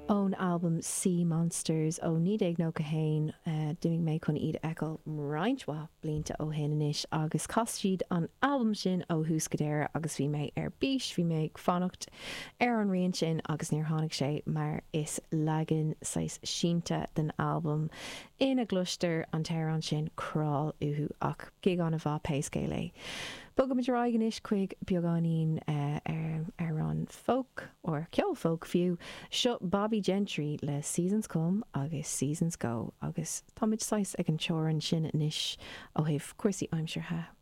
Ón albam Sea Monsters ó 1991, d'imigh mé chun iad a fheiceáil roinnt mhaith blianta ó shin anois agus chas siad an albam sin ó thús go deireadh agus bhí mé ar bís, bhí mé ag fanacht ar an rian sin agus níor tháinig sé mar is leagan saghas sínte den albam ina gcloistear an t-amhrán sin Crawl uathu ach gig an-mhaith pé scéal é. Bogaimid ar aghaidh anois chuig beagáinín amhrán folk, or ceol folk fiú, seo Bobbie Gentry le Seasons Come agus Seasons Go agus táimid saghas ag an teorainn sin anois ó thaobh cúrsaí aimseartha.